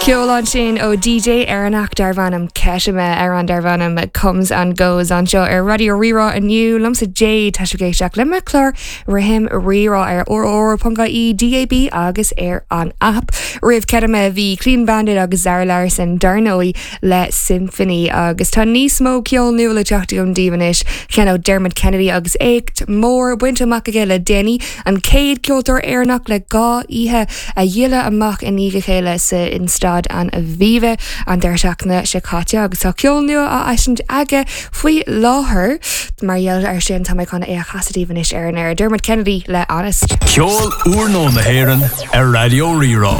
Ceol ansin ó DJ Éireannach darb ainm Ketame amhrán darb ainm Comes and Goes anseo ar Raidió Rí-Rá inniu liomsa Jade tá sibh ag éisteacht le mo chlár Rithim Rí-Rá ar rr.ie, DAB agus ar an app. Roimh Ketame bhí Clean Bandit agus Zara Larsson dar ndóigh le Symphony agus tá níos mó ceol nua le teacht agam daoibh anois, ceann ó Dermot Kennedy agus éacht mór bainte amach aige le déanaí, an chéad ceoltóir Éireannach le 2 oíche a dhíoladh amach i ndiaidh a chéile sa in Staid an Aviva an deireadh seachtaine seo caite agus tá ceol nua á eisiúint aige faoi láthair. Mar gheall air sin tá mé chun é a chasadh daoibh anois ar an aer. Dermot Kennedy le Honest. Ceol úrnua na hÉireann ar Raidió Rí-Rá.